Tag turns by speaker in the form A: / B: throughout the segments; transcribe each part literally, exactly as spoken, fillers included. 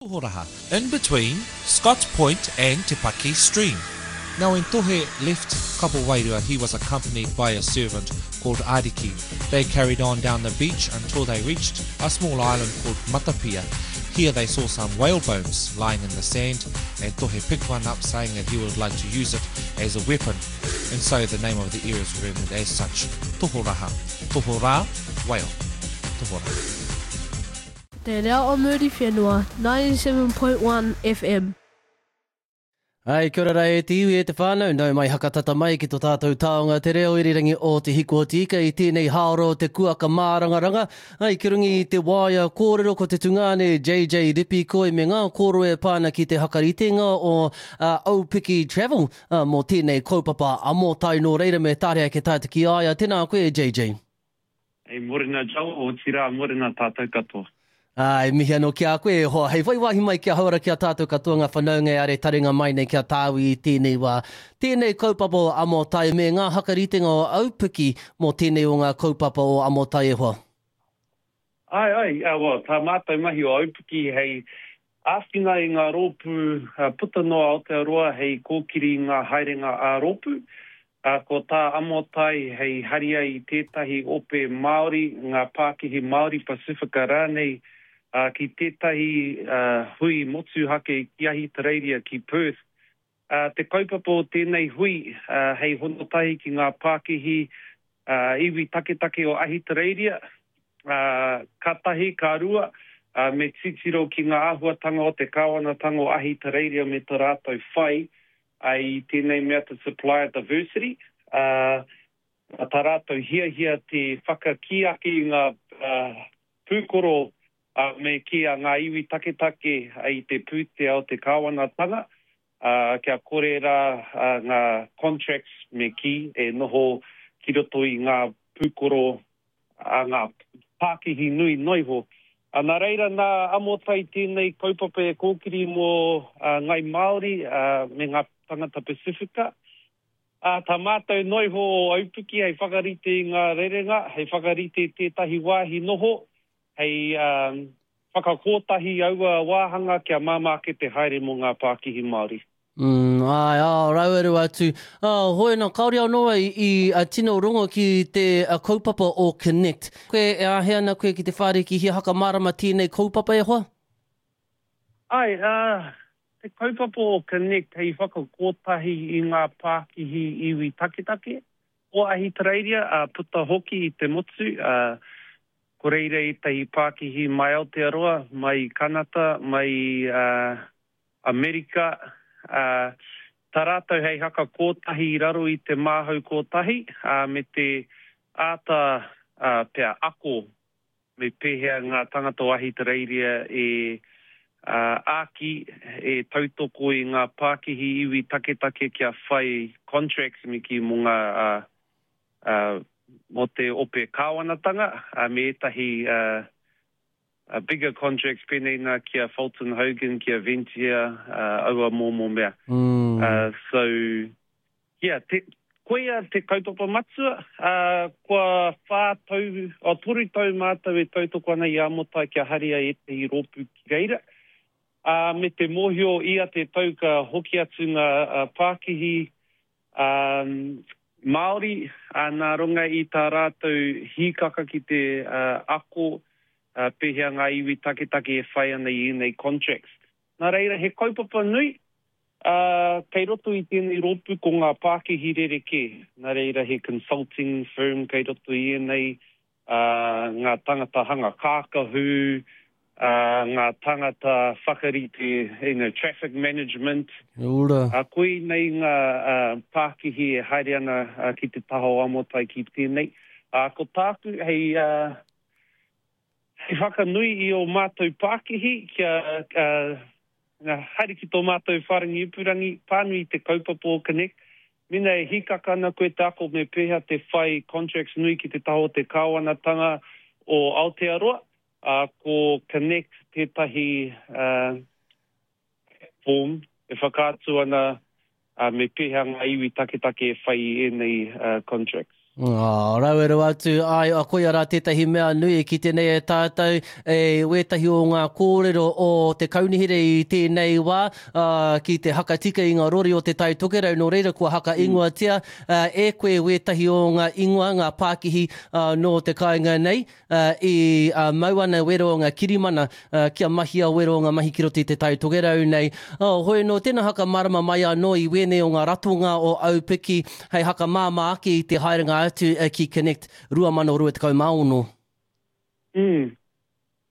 A: Tohoraha, in between Scotts Point and Te Paki Stream. Now when Tohe left Kapowairua, he was accompanied by a servant called Ariki. They carried on down the beach until they reached a small island called Matapia. Here they saw some whale bones lying in the sand, and Tohe picked one up, saying that he would like to use it as a weapon. And so the name of the area is remembered as such, Tohoraha. Tohora, whale. Tohora.
B: Te Reo o Muriwhenua, ninety-seven point one F M.
C: Ai, kia ora rā e te iwi, e te whānau, nau mai hakatata mai ki tō tātou taonga te reo irirangi o Te Hiku o Te Ika i tēnei hāora o te kuaka mārangaranga. Ai, ki runga i te waea kōrero ko te tungāne J J Ripikoi me ngā kōrero e pā ana ki te hakaritenga o uh, Aupiki Travel uh, mō tēnei kaupapa Amotai, nō reira me tarea ke tātou ki a ia. Tēnā koe, J J.
D: Ei, morena Joe, otirā morena tātou katoa.
C: Ai, mihi anō ki a koe e hoa. Hei whai wāhi mai ki a hauora ki a tātou katoa ngā whanaunga e are taringa mai nei ki a tāui i tēnei wā. Tēnei kaupapa o Amotai me ngā hakaritenga o Aupiki mō tēnei o ngā kaupapa o Amotai, e hoa.
D: Ai, ai, uh, well, tā mātou mahi o Aupiki hei āwhina i ngā rōpū uh, puta noa Aotearoa hei kōkiri i ngā haerenga ā-rōpū. Uh, ko tā Amotai hei haria i tētahi ope Māori, ngā pākihi Māori Pasifika rānei, uh, ki tētahi uh, hui motuhake ki Ahitereiria, ki Perth. Uh, te kaupapa o tēnei hui uh, hei honotahi ki ngā pākihi uh, iwi taketake o Ahitereiria, uh, ka tahi, ka rua, uh, me titiro ki ngā āhuatanga o te kāwanatanga o Ahitereiria me tā rātou whai uh, i tēnei mea te supplier diversity. Uh, tā rātou hiahia te whakakī ake i ngā uh, pūkoro uh, me ki a ngā iwi taketake i te pūtea o te kāwanatanga, uh, kia kore rā uh, ngā contracts me kī e noho ki roto i ngā pūkoro a ngā pākihi nui noiho. Uh, nā reira nā Amotai tēnei kaupapa e kōkiri mō uh, Ngai Māori uh, me ngā tangata Pasifika. Uh, tā mātou noiho o Aupiki hei whakarite i ngā rerenga, hei whakarite tētahi wāhi noho, hei um, whakakōtahi aua wāhanga kia māmā ake te haere mō ngā pākihi Māori.
C: Mm, ai, ā, raueru atu. Ah, hoi nā, kaore anō i, i a tino rongo ki te a kaupapa o Connect. Koe e āhei ana koe ki te whāriki hia hakamārama tēnei kaupapa, e hoa?
D: Ai, uh, te kaupapa o Connect hei whakakōtahi i ngā pākihi iwi taketake o Ahitereiria, uh, puta hoki i te motu, uh, ko reira ētahi pākihi mai Aotearoa, mai Kanata, mai uh, Amerika, uh, tā rātou hei hakakōtahi i raro i te māhau kōtahi, uh, me te āta uh, pea ako me pēhea ngā tangata o Ahitereiria e uh, āki, e tautoko i ngā pākihi iwi taketake kia whai contracts me kī mō ngā uh, uh, mō te ope kāwanatanga, uh, me ētahi uh, uh, bigger contracts pēnei nā ki a Fulton Hogan, ki a Ventia, uh, aua momo mea.
C: Mm.
D: Uh, so, yeah, te, koia te kaupapa matua, uh, kua whā tau, o toru tau mātou e tautoko ana i Amotai kia haria ētahi rōpū ki reira. Uh, me te mōhio ia te tau ka hoki atu ngā uh, pākihi um, Māori, uh, nā runga i tā rātou hīkaka ki te uh, ako uh, pēhea ngā iwi taketake e whai ana i ēnei contracts. Nā reira, he kaupapa nui, uh, kei roto i tēnei rōpū ko ngā pākihi rerekē. Nā reira, he consulting firm kei roto i ēnei, uh, ngā tangata hanga kākahu, uh, ngā tangata whakarite, you know, traffic management.
C: Ora.
D: Uh, koinei ngā uh, pākihi e haere ana uh, ki te taha o Amotai ki tēnei. Uh, ko tāku hei, uh, hei whakanui i o mātou pākihi kia uh, haere ki tō mātou whārangi ipurangi, pānui te kaupapa o Connect. Mena e hīkaka ana koe te ako me pēhea te whai contracts nui ki te taha o te kāwanatanga o Aotearoa, uh, ko Connect tētahi uh, platform e whakaatu ana uh, me pēhea ngā iwi taketake e whai i ēnei uh, contracts.
C: Oh, rawe rawa atu, ai, a koia rā tētahi mea nui ki tēnei e tātou, e wētahi o ngā kōrero o te kaunihera i tēnei wā, uh, ki te hakatika i ngā rori o te Tai Tokerau, nō reira kua haka ingoatia uh, e koe wētahi o ngā ingoa, ngā pākihi uh, nō te kāinga nei, uh, i uh, mau ana wero o ngā kirimana uh, kia mahia wero o ngā mahi ki roto i te Tai Tokerau nei. Oh, hoi nō tēnā haka marama mai anō i wēnei o ngā ratonga o Aupiki hei haka māmā ake i te haerenga atu ki Connect rua mano rua tekau mā ono.
D: Mm.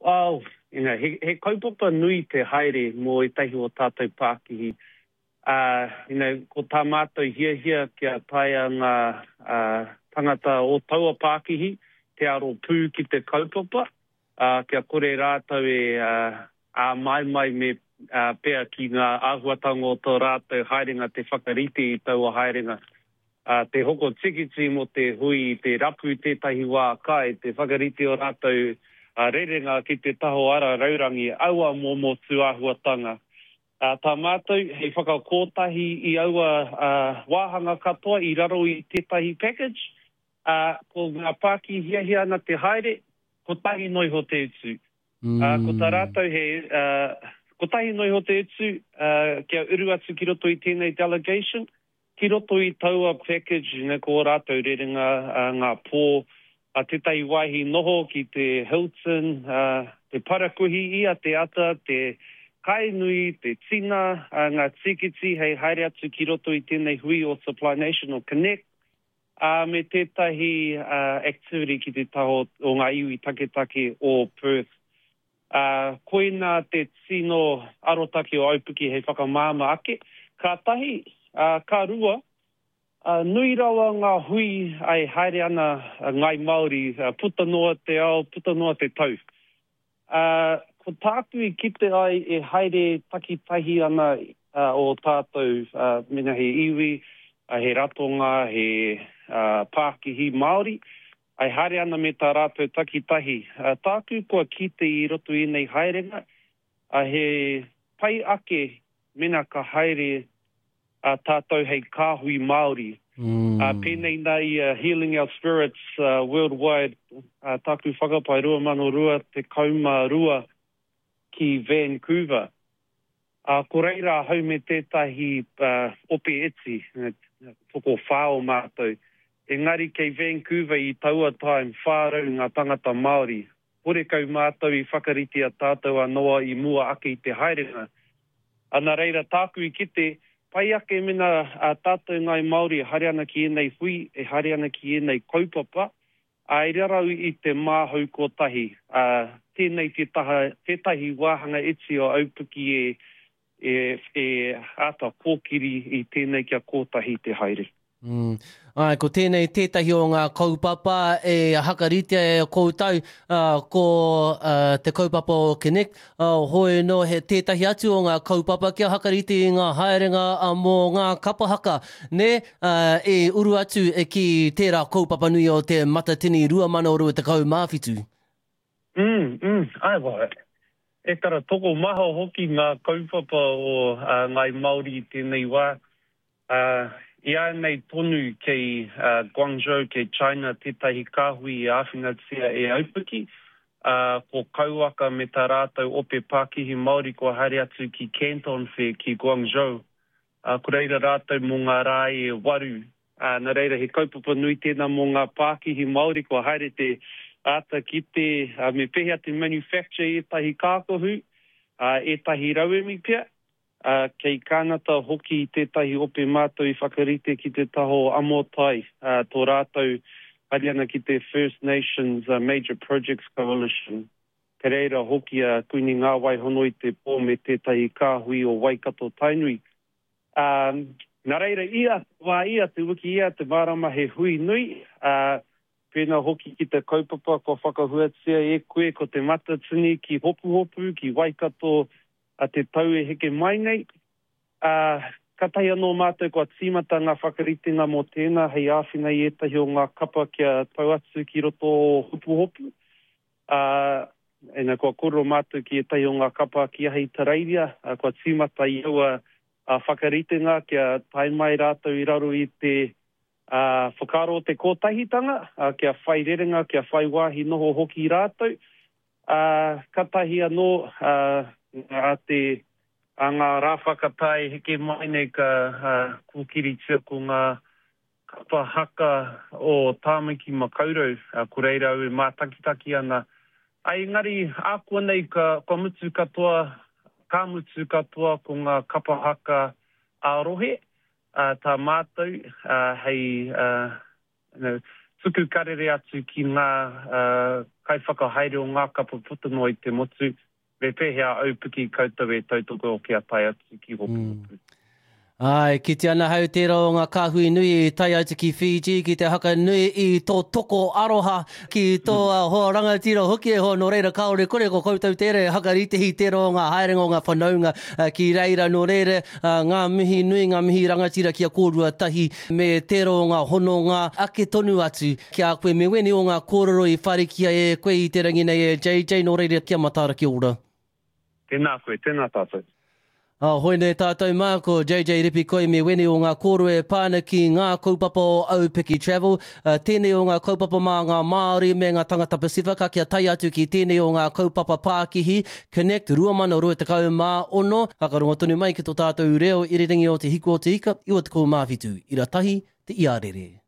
D: Well, you know, he, he kaupapa nui te haere mō ētahi o tātou pākihi. Uh, you know, ko tā mātou hiahia kia taea ngā uh, tangata o taua pākihi, te aro pū ki te kaupapa, uh, kia kore rātou e uh, āmaimai me uh, pea ki ngā āhuatanga o tō rātou haerenga te whakarite i taua haerenga. Uh, te hoko tikiti mō te hui, te rapu tētahi wā kai, te whakarite o rātou uh, rerenga ki te taho ara raurangi, aua momo tūāhuatanga. Uh, tā mātou, hei whakakōtahi i aua uh, wāhanga katoa i raro i tētahi package, uh, ko ngā pāki hiahia ana te haere, kotahi noa iho te utu. Mm. Uh, ko tā rātou he, uh, kotahi noa iho te utu, uh, kia uru atu ki roto i tēnei delegation, ki roto i taua package, you know, ko rātou rerenga, uh, ngā pō, uh, tētahi wāhi noho ki te Hilton, uh, te parakuihi ia, te ata, te kainui, te tina, uh, ngā tikiti hei haere atu ki roto i tēnei hui o Supply Nation o Connect, uh, me tētahi uh, activity ki te taho o ngā iwi taketake o Perth. Uh, koina te tino arotake o Aupiki hei whakamāmā ake. Ka tahi, Uh, ka rua, uh, nui rawa ngā hui ai haere ana uh, Ngai Māori, uh, puta noa te ao, puta noa te tau. Uh, ko tāku i kite ai e haere takitahi ana uh, o tātou, uh, mena he iwi, uh, he ratonga, he uh, pākihi Māori, ai haere ana me tā rātou takitahi. Uh, tāku kua kite i roto i nei haerenga, uh, he pai ake mena ka haere a tātou hei kāhui Māori. Mm. Uh, pēnei nā i uh, Healing Our Spirits uh, Worldwide, uh, tāku whakapae rua mano rua tekau mā rua ki Vancouver. Uh, ko reira ahau me tētahi uh, ope iti, toko whā o mātou. Engari kei Vancouver i taua time whā rau ngā tangata Māori. Horekau mātou i whakarite a tātou anō i mua ake i te haerenga. Ana reira tāku i kite, pai ake mena a tātou Ngai Māori e haere ana ki ēnei hui, e haere ana ki ēnei kaupapa, a i rarau i te māhau kotahi. A, tēnei te taha, tētahi wāhanga iti o Aupiki e, e, e āta kōkiri i tēnei kia kotahi te haere.
C: Mm. Ai, ko tēnei tētahi o ngā kaupapa e hakaritea e koutou, uh, ko uh, te kaupapa o Connect, uh, hoi no he tētahi atu o ngā kaupapa kia hakarite i ngā haerenga uh, mō ngā kapahaka, ne, uh, e uru atu e ki tērā kaupapa nui o te Matatini rua mano rua tekau mā whitu.
D: Mm, mm, ai, wa. E tara toko maha hoki ngā kaupapa o uh, Ngai Māori i tēnei wā. Uh, I a nei tonu kei uh, Guangzhou, kei China, tētahi kāhui i āwhinatia e Aupiki, uh, ko Kauaka me tā rātou ope pākihi Māori kua haere atu ki Canton Fair, ki Guangzhou. Uh, ko reira rātou mō ngā rā e waru. Uh, nā reira he kaupapa nui tēnā mō ngā pākihi Māori kua haere te āta ki te, uh, me pēhea te manufacture ētahi kākohu, uh, ētahi rauemi pea. Uh, kei Kānata hoki tētahi ope mātou i whakarite ki te taho amotai, uh, tō rātou haere ana ki te First Nations uh, Major Projects Coalition. Kei reira hoki a uh, Kuini Ngā Waihono i te pō me tētahi kāhui o Waikato Tainui. Um, nā reira ia, wā ia, te wiki ia, te marama he hui nui, uh, pēnā hoki ki te kaupapa kua whakahuatia e koe ko te Matatini ki Hopuhopu, ki Waikato, a te tau e heke mai nei. Uh, katahi anō mātou kua tīmata ngā whakaritenga mō tēnā hei āwhina i ētahi o ngā kapa kia tau atu ki roto o Hopuhopu. Uh, ena kua kōrero mātou ki ētahi o ngā kapa ki Ahitereiria, uh, kua tīmata i aua uh, whakaritenga kia tae mai rātou i raro i te uh, whakaaro o te kotahitanga, uh, kia whai rerenga, kia whai wāhi noho hoki rātou. Uh, katahi anō uh, a te a ngā rā whakatae heke mai nei ka uh, kōkiritia ko ngā kapa haka o Tāmaki Makaurau, uh, ko reira au e mātakitaki ana. Ai, engari, ākuanei ka, kua mutu katoa, ka mutu katoa ko ngā kapa haka ā-rohe, uh, tā mātou uh, hei uh, you know, tuku karere atu ki ngā uh, kaiwhakahaere o ngā kapa puta noa i te motu, me pēhea aupiki koutou e tautoko kia tae atu ki Hopuhopu.
C: Mm. Ai, kite ana hau tērā o ngā kāhui nui i tae atu ki Fiji, ki te haka nui i tō toko aroha, ki tō mm. hoa rangatira hoki e hoa, nō reira kāore kore ko koutou tērā e hakaritehi tērā o ngā haerenga o ngā whanaunga ki reira, nō reira ngā mihi nui, ngā mihi rangatira ki a kōrua tahi me tērā o ngā hononga ake tonu atu ki a koe me wēnei o ngā kōrero i wharikia e koe i te rangi nei e J J, nō reira kia mataara kia ora.
D: Tēnā koe, tēnā tātou.
C: Ah, hoi nei tātou mā, ko J J Ripikoi me wēnei o ngā kōrero e pā ana ki ngā kaupapa o Aupiki Travel. Uh, tēnei o ngā kaupapa mā ngā Māori me ngā tangata Pasifika kia tae atu ki tēnei o ngā kaupapa pākihi Connect rua mano rua tekau mā ono. Whakarongo tonu mai ki tō tātou reo irirangi o Te Hiku o Te Ika, iwa tekau mā whitu, ira tahi, te iarere.